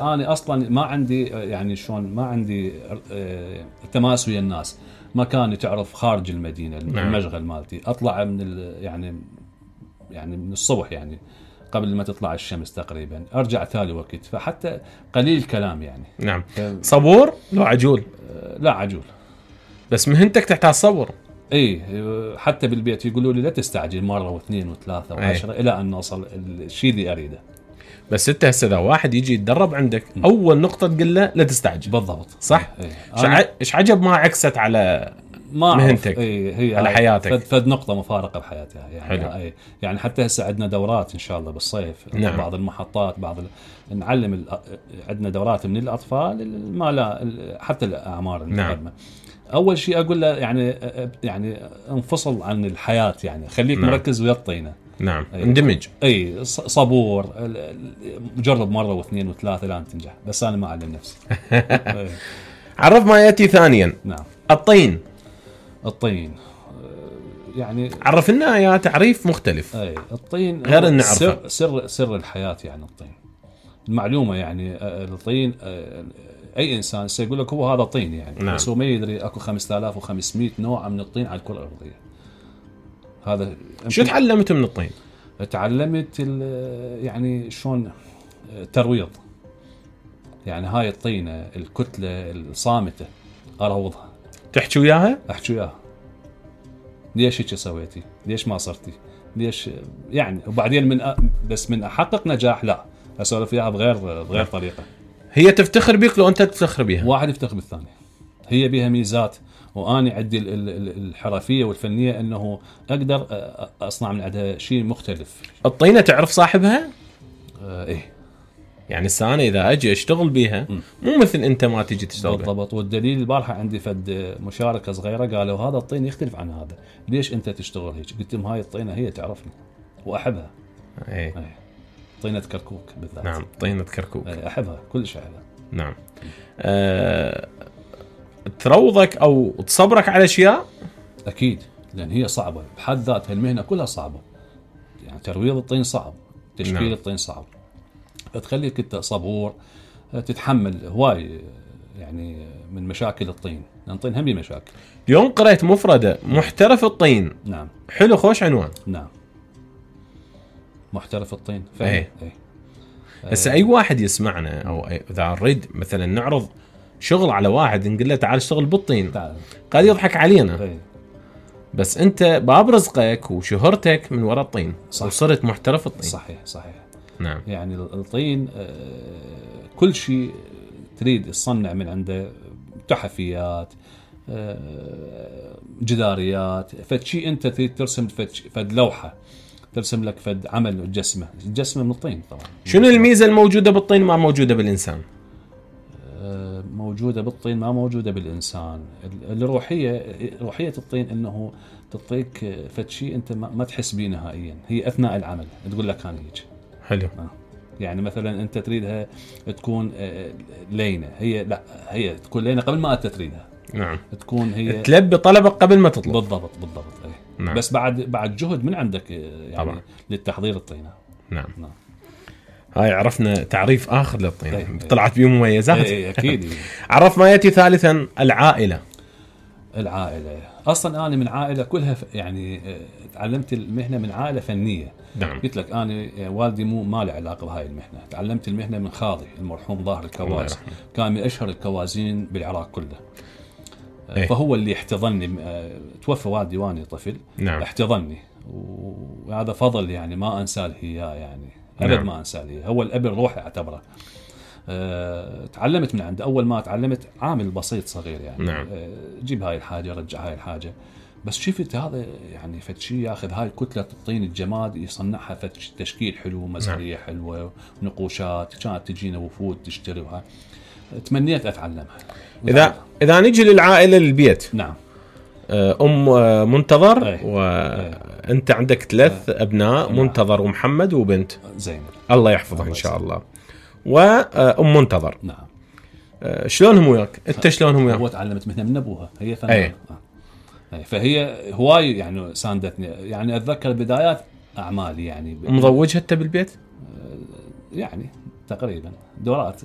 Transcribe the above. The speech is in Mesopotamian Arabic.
انا اصلا ما عندي يعني شلون ما عندي تماس ويا الناس. مكاني تعرف خارج المدينه المشغل مالتي. اطلع من يعني من الصبح يعني قبل ما تطلع الشمس تقريبا، ارجع ثاني وقت، فحتى قليل كلام يعني. نعم. صبور لو عجول؟ لا عجول، بس مهنتك تحتاج صبر. اي حتى بالبيت يقولوا لي لا تستعجل مره واثنين وثلاثه وعشرة الى ان نوصل الشيء اللي اريده. بس انت هسه اذا واحد يجي يتدرب عندك اول نقطه تقول له لا تستعجل. بالضبط صح. ايش عجب ما عكست على مهنتك هي على حياتك. فد نقطه مفارقه بحياتها يعني. حلو. يعني حتى هسه عندنا دورات ان شاء الله بالصيف. نعم. بعض المحطات نعلم عندنا دورات من الاطفال ما لا حتى الاعمار المقدمه. نعم. اول شيء اقول له يعني انفصل عن الحياه، يعني خليك نعم. مركز ويا الطينه. نعم. اندمج. صبور، جرب مره واثنين وثلاثه لان تنجح، بس انا ما اعلم نفسي. عرف ما ياتي ثانيا. نعم. الطين يعني عرف لنا يا تعريف مختلف. الطين غير ان نعرفه سر الحياه يعني. الطين المعلومه يعني. الطين اي انسان سيقول لك هو هذا طين يعني. نعم. بس هو ما يدري اكو 5500 نوع من الطين على الكره الارضيه. هذا شو تعلمت من الطين؟ تعلمت يعني شلون ترويض. يعني هاي الطينه الكتله الصامته اروضها. تحكي وياها؟ احكي وياها. ليش هيك سويتي؟ ليش ما صرتي؟ ليش يعني؟ وبعدين بس من احقق نجاح لا اسولف وياها بغير طريقه. هي تفتخر بك لو انت تفتخر بيها. واحد يفتخر بالثاني. هي بها ميزات واني عندي الحرفيه والفنيه انه اقدر اصنع من عندها شيء مختلف. الطينه تعرف صاحبها؟ ايه يعني السنة اذا اجي اشتغل بيها مو مثل انت ما تيجي تشتغل. بالضبط. والدليل البارحه عندي فد مشاركه صغيره قالوا هذا الطين يختلف عن هذا، ليش انت تشتغل هيك؟ قلت لهم هاي الطينه هي تعرفني واحبها. ايه. طينه كركوك بالذات. نعم. طينه كركوك احبها كل شيء احبها. نعم. تروضك او تصبرك على اشياء؟ اكيد، لان هي صعبه بحد ذاتها. المهنه كلها صعبه يعني. ترويض الطين صعب، تشكيل نعم. الطين صعب، فتخليك انت صبور تتحمل هواي يعني من مشاكل الطين، لان الطين هم مشاكل. اليوم قرأت مفردة محترف الطين. نعم. حلو، خوش عنوان. نعم. محترف الطين. ايه. هسه اي واحد يسمعنا او اذا نريد مثلا نعرض شغل على واحد نقول له تعال اشتغل بالطين، قاعد يضحك علينا. أي. بس انت باب رزقك وشهرتك من وراء الطين. وصرت محترف الطين. صحيح. نعم. يعني الطين كل شيء تريد تصنع من عنده، تحفيات، جداريات، فد شيء انت تريد ترسم فد لوحه، ترسم لك فد عمل الجسمه من الطين طبعا. شنو الميزه الموجوده بالطين ما موجوده بالانسان؟ موجوده بالطين ما موجوده بالانسان. روحيه الطين انه تعطيك فد شيء انت ما تحس به نهائيا. هي اثناء العمل تقول لك انا هيك. حلو. يعني مثلا انت تريدها تكون لينه، هي تكون لينه قبل ما انت تريدها. نعم. تكون هي تلبي طلبك قبل ما تطلب. بالضبط. أي. نعم. بس بعد جهد من عندك يعني طبعا. للتحضير الطينه. نعم. هاي عرفنا تعريف اخر للطين. طلعت بيه مميزات. اي اكيد. عرف ما ياتي ثالثا. العائله اصلا انا من عائله كلها يعني تعلمت المهنه من عائله فنيه. نعم. قلت لك انا والدي ما له علاقه بهاي المهنه. تعلمت المهنه من خالي المرحوم ظاهر الكواز، كان من اشهر الكوازين بالعراق كله. فهو اللي احتضنني. توفى والدي وانا طفل. نعم. احتضنني وهذا فضل يعني ما انساه اياه يعني. ابد ما انساه. هو الاب الروحي اعتبره. تعلمت من عنده. اول ما تعلمت عامل بسيط صغير يعني. نعم. جيب هاي الحاجه رجع هاي الحاجه. بس شفت هذا يعني فد شيء ياخذ هاي كتله الطين الجماد يصنعها فد تشكيل حلو، مزاريه حلوه، ونقوشات. كانت تجينا وفود تشتريها. تمنيت اتعلمها. اذا نجي للعائله للبيت. نعم. منتظر. وانت عندك 3 ابناء. منتظر ومحمد وبنت زينب الله يحفظها ان شاء الله. منتظر. نعم. شلونهم وياك؟ انت شلونهم وياك؟ هو تعلمت مهنه من ابوها. هي فنانه. فهي هواي يعني ساندتني. يعني اتذكر بدايات اعمالي يعني. مضوجها انت بالبيت؟ يعني تقريبا دورات.